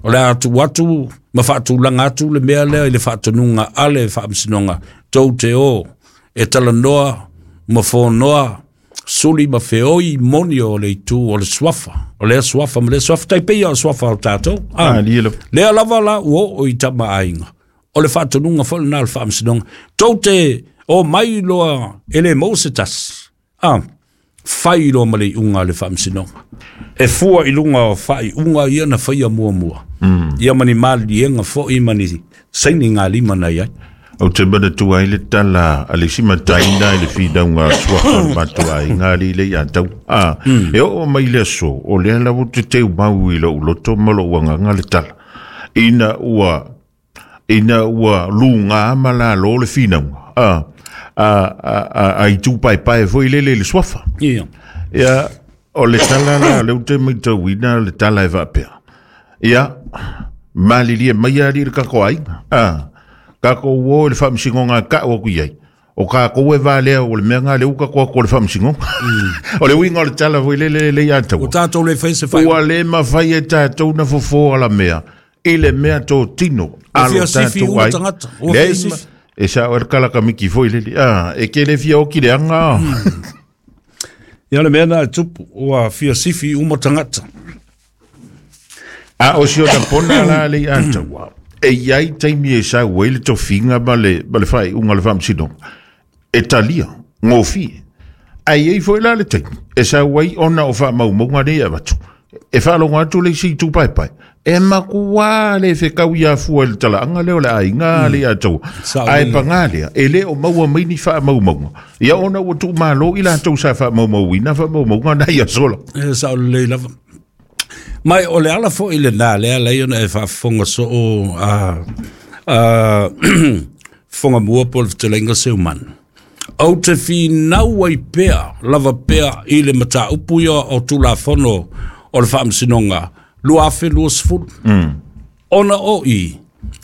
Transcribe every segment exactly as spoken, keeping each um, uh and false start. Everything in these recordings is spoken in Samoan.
O le a tuu atu ma faatulaga atu le mea lea i le faatonuga a le Faamasinoga, tou te o e talanoa ma fonoa suli ma feoi moni o le itu o le suafa, o lea suafa ma lea suafa, tai pei o suafa o tatou. Ah, lea lava la ua oo i tama aiga. O le faatonuga foi lena a le Faamasinoga, tou te o mai loa e le maua se tasi. Ah, fai loa ma le iuga a le Faamasinoga. E fua i luga o faaiuga ia na faia muamua. Mm. Ia ma ni maliega foi ma ni saini galima na iai. Ou te manatua ai le tala a le isi mataina i le finauga suafa o le matou aiga alii le ia tau. Ah, e oo mai le aso, o lea lava ou te teumau i lou loto ma lou agaga le tala. Ina ua, ina ua luga ma lalo le finauga. Ah, a, a, a, a itu paepae foi lele i le suafa. Ia. Ia, o le tala la, o lea ou te matauina le tala e faapea. Ia, malilie mai alii le tatou aiga. Ah, tatou o i le faamasinoga e tau atu i ai. O tatou e valea o le mea lena lea ua tatou atu o le faamasinoga. O le uiga o le tala foi lele le ia taua. Ua tatou le fai se fai. Ua le mafai e tatou na fofo ala mea i le mea totino. Ua fia sifi uma tagata. Ua fia sifi. E sao e le kalakamiki foi lele. Ah, e ke le fia oki le anga. Ia le mea na e tupu, ua fia sifi uma tagata. A o si ona pona la le ia taua. E iai taimi e sau ai le tofiga ma le, ma le faaiuga o le faamasinoga. E talia, gofie. Ae iai foi la le taimi e sau ai ona o faamaumauga nei e avatu. E faalogo atu le isi itu paepae. E makuā le fekau ia fua i le talaaga lea o le aiga le ia taua. Ae paga lea, e le o maua mai ni faamaumauga. Ia ona ua tuumalo i latou sa faamaumauina faamaumauga na ia sola. E sao lelei lava. Mai o le ala foi lena lea alai ona e faafofoga soo a a fofoga mua po o le fetalaiga Seumanu. Ou te finau ai pea lava pea i le mataupu ia o Tulafono o le Faamasinoga lua afe luasefulu. Ona o i,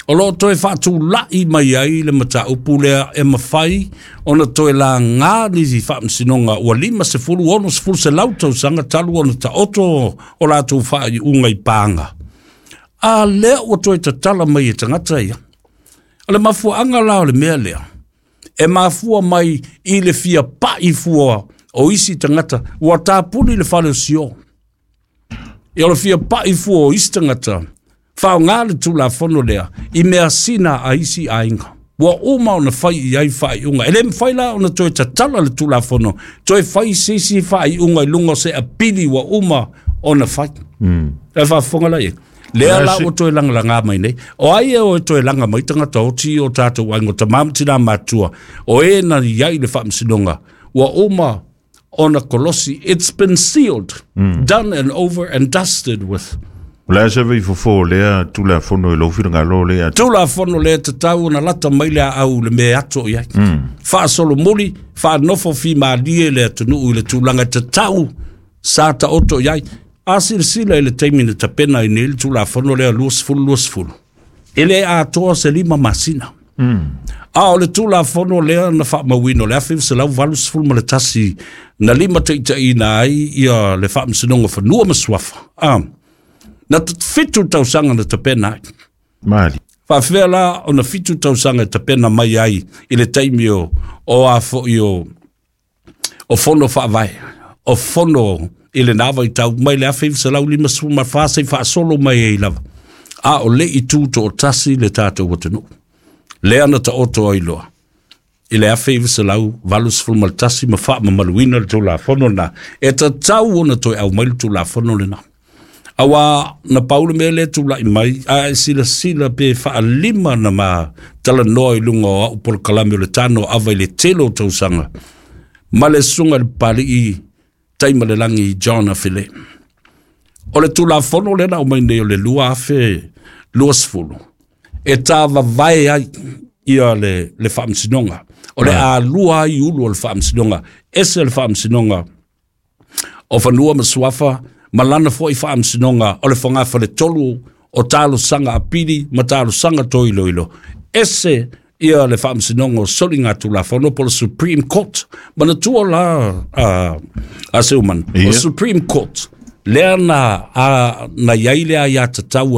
o loo toe faatulai mai ai le mataupu lea e mafai ona toe laga ni faamasinoga ua lima sefulu ono sefulu selau tausaga talu ona taoto o latou faaiuga i paga. A lea ua toe tatala mai e tagata ia. O le mafuaaga la o le mea lea, e mafua mai i le fia pai fua o isi tagata ua tapuni le fale o sio. Ia o le fia pai fua o isi tagata, faaaoga le Tulafono lea i mea sina a isi aiga. Ua uma ona fai i ai faaiuga. E le mafai la ona toe tatala le Tulafono, toe fai se isi faaiuga i luga o se apili ua uma ona fai. Mm. E faafofoga la ia. Lea la ua toe lagalaga mai nei. O ai e o e toe laga mai tagata oti o tatou aiga, o tamā ma tinā matutua, o e na iai le faamasinoga, ua uma ona kolosi. It's been sealed, mm. done and over and dusted with. O le a se vifofo o lea Tulafono i lou finagalo le atu? Tulafono lea tatau ona lata mai le aau le mea e ato i ai. Mm. Faasolomuli, faanofo fimalie le atunuu i le tulaga tatau sa taoto i ai. A silasila i le taimi na tapena ai nei le Tulafono lea luasefulu luasefulu, e le atoa se lima masina. Mm. A o le Tulafono lea na faamauina o le afe iva selau valusefulu ma le tasi na lima taitaiina ai ia le Faamasinoga o Fanua ma Suafa. Ah, na fitu tausaga na tapena ai. Mali. Faafefea la ona fitu tausaga e tapena mai ai i le taimi o, o a foi o, o fono faavae, o fono i lena vaitau mai le afe iva selau limasefulu ma fa seia faasolo mai ai lava. A o le i tu toatasi le tatou atunuu. Lea na taoto ai loa i le afe iva selau valusefulu ma le tasi ma faamamaluina le Tulafono lena. E tatau ona toe aumai le Tulafono lena. Auā na pau le mea lea tulai mai, a e silasila pe faalima na ma talanoa i luga o au polokalame o le tano ava i le tele o tausaga ma le susuga i le Papalii Taimalelagi John Afele. O le Tulafono lea na aumai nei o le lua afe luasefulu, e tāvavae ai ia le, le faamasinoga. O le alua ai ulu o le faamasinoga, ese le Faamasinoga o Fanua ma Suafa, ma lana foi faamasinoga o le fogafale tolu o talosaga apili ma talosaga toiloilo. Ese ia le Faamasinoga o Soliga Tulafono po o le Supreme Court. Manatua la a, a Seuman, o Ia. Supreme Court lea na, a, na iai le aiatatau o le